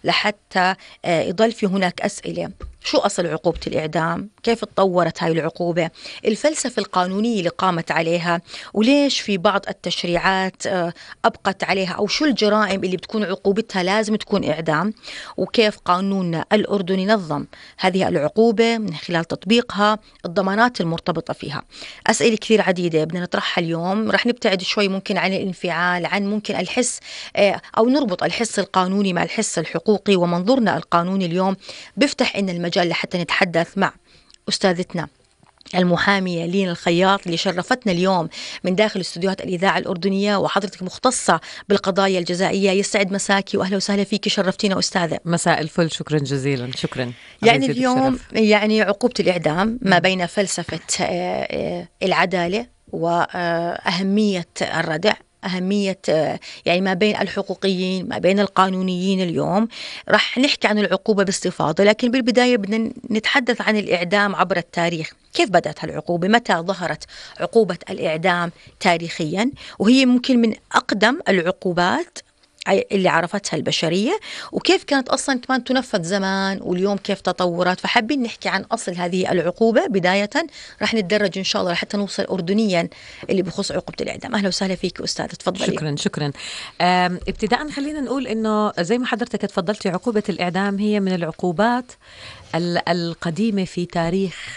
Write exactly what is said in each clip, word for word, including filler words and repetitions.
لحتى يضل في هناك أسئلة: شو أصل عقوبة الإعدام؟ كيف تطورت هاي العقوبة؟ الفلسفة القانونية اللي قامت عليها، وليش في بعض التشريعات أبقت عليها، أو شو الجرائم اللي بتكون عقوبتها لازم تكون إعدام، وكيف قانوننا الأردني نظم هذه العقوبة من خلال تطبيقها، الضمانات المرتبطة فيها. أسئلة كثير عديدة بدنا نطرحها اليوم. رح نبتعد شوي ممكن عن الانفعال، عن ممكن الحس، أو نربط الحس القانوني مع الحس الحقوقي. ومنظورنا القانوني اليوم بيفتح إن المجال لحتى نتحدث مع أستاذتنا المحامية لين الخياط اللي شرفتنا اليوم من داخل استوديوهات الإذاعة الأردنية، وحضرتك مختصة بالقضايا الجزائية. يسعد مساكي وأهلا وسهلا فيك، شرفتينا أستاذة. مساء الفل، شكرا جزيلا. شكرا. يعني اليوم يعني عقوبة الإعدام ما بين فلسفة العدالة وأهمية الردع، أهمية يعني ما بين الحقوقيين ما بين القانونيين. اليوم رح نحكي عن العقوبة باستفاضة، لكن بالبداية بدنا نتحدث عن الإعدام عبر التاريخ. كيف بدأت هالعقوبة؟ متى ظهرت عقوبة الإعدام تاريخيا؟ وهي ممكن من أقدم العقوبات اللي عرفتها البشرية، وكيف كانت أصلا كمان تنفذ زمان، واليوم كيف تطورت. فحابين نحكي عن أصل هذه العقوبة بداية. رح نتدرج إن شاء الله حتى نوصل أردنيا اللي بخص عقوبة الإعدام. أهلا وسهلا فيك أستاذ، تفضلي. شكرا شكرا. ابتداء خلينا نقول إنه زي ما حضرتك تفضلتي، عقوبة الإعدام هي من العقوبات القديمة في تاريخ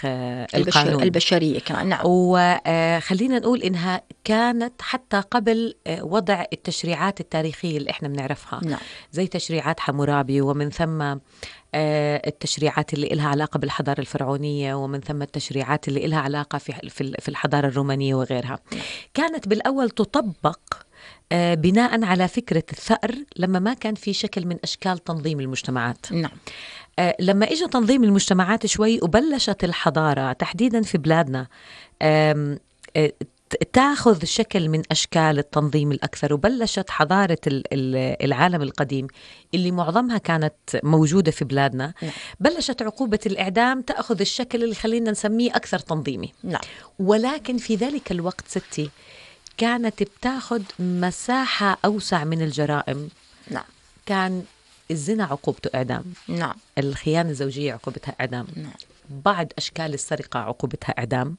القانون البشرية كمان. نعم. وخلينا نقول إنها كانت حتى قبل وضع التشريعات التاريخية اللي إحنا بنعرفها. نعم. زي تشريعات حمورابي، ومن ثم التشريعات اللي إلها علاقة بالحضارة الفرعونية، ومن ثم التشريعات اللي إلها علاقة في في الحضارة الرومانية وغيرها. كانت بالأول تطبق بناء على فكرة الثأر، لما ما كان في شكل من أشكال تنظيم المجتمعات. نعم. لما إجا تنظيم المجتمعات شوي وبلشت الحضارة تحديدا في بلادنا تأخذ شكل من أشكال التنظيم الأكثر، وبلشت حضارة العالم القديم اللي معظمها كانت موجودة في بلادنا، نعم. بلشت عقوبة الإعدام تأخذ الشكل اللي خلينا نسميه أكثر تنظيمي. نعم. ولكن في ذلك الوقت ستي كانت بتاخذ مساحة أوسع من الجرائم. نعم. كان الزنا عقوبته إعدام. نعم. الخيانة الزوجية عقوبتها إعدام. نعم. بعض أشكال السرقة عقوبتها إعدام.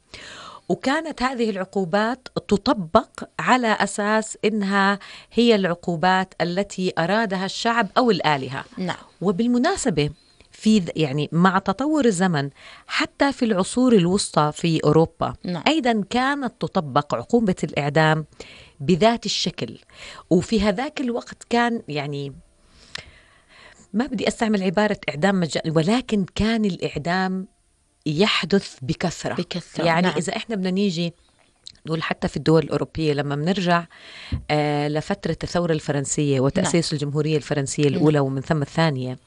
وكانت هذه العقوبات تطبق على أساس إنها هي العقوبات التي أرادها الشعب أو الآلهة. نعم. وبالمناسبة في يعني مع تطور الزمن حتى في العصور الوسطى في أوروبا، نعم. أيضا كانت تطبق عقوبة الإعدام بذات الشكل. وفي هذاك الوقت كان يعني ما بدي أستعمل عبارة إعدام مجاني، ولكن كان الإعدام يحدث بكثرة, بكثرة. يعني نعم. إذا إحنا بدنا نيجي نقول حتى في الدول الأوروبية، لما بنرجع آه لفترة الثورة الفرنسية وتأسيس نعم. الجمهورية الفرنسية الأولى نعم. ومن ثم الثانية،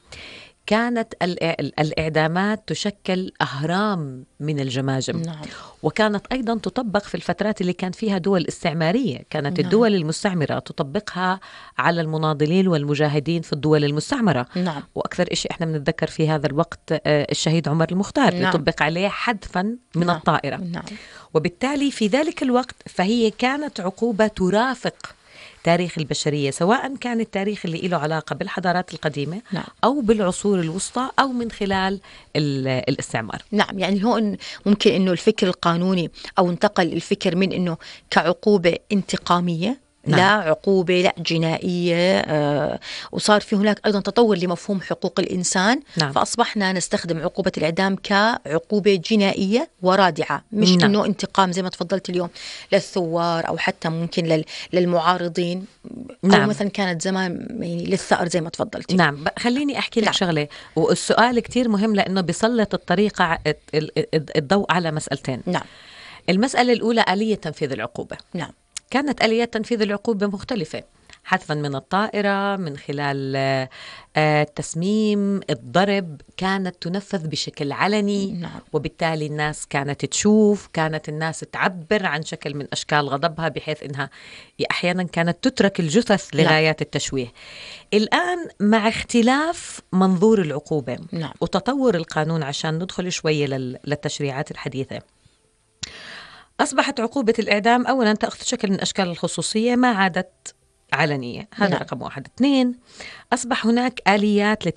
كانت الإعدامات تشكل أهرام من الجماجم. نعم. وكانت أيضا تطبق في الفترات اللي كان فيها دول استعمارية. كانت نعم. الدول المستعمرة تطبقها على المناضلين والمجاهدين في الدول المستعمرة. نعم. وأكثر إشي إحنا بنتذكر في هذا الوقت الشهيد عمر المختار نعم. يطبق عليه حذفا من نعم. الطائرة. نعم. وبالتالي في ذلك الوقت فهي كانت عقوبة ترافق تاريخ البشرية، سواء كان التاريخ اللي له علاقة بالحضارات القديمة نعم. أو بالعصور الوسطى أو من خلال الاستعمار. نعم. يعني هون ممكن أنه الفكر القانوني أو انتقل الفكر من أنه كعقوبة انتقامية نعم. لا عقوبة لا جنائية، آه وصار في هناك أيضا تطور لمفهوم حقوق الإنسان نعم. فأصبحنا نستخدم عقوبة الإعدام كعقوبة جنائية ورادعة، مش نعم. إنه انتقام زي ما تفضلت اليوم للثوار أو حتى ممكن لل... للمعارضين نعم. أو مثلا كانت زمان يعني للثأر زي ما تفضلت. نعم. خليني أحكي لك نعم. شغلة، والسؤال كتير مهم لأنه بيسلط الطريقة الضوء على مسألتين. نعم. المسألة الأولى آلية تنفيذ العقوبة. نعم. كانت آليات تنفيذ العقوبة مختلفة، حذفا من الطائرة، من خلال التسميم، الضرب، كانت تنفذ بشكل علني نعم. وبالتالي الناس كانت تشوف، كانت الناس تعبر عن شكل من أشكال غضبها، بحيث إنها أحيانا كانت تترك الجثث لغايات التشويه. الآن مع اختلاف منظور العقوبة نعم. وتطور القانون، عشان ندخل شوية للتشريعات الحديثة، أصبحت عقوبة الإعدام أولا تأخذ شكل من أشكال الخصوصية، ما عادت علنية. هذا نعم. رقم واحد. اثنين، أصبح هناك آليات لتنفيذ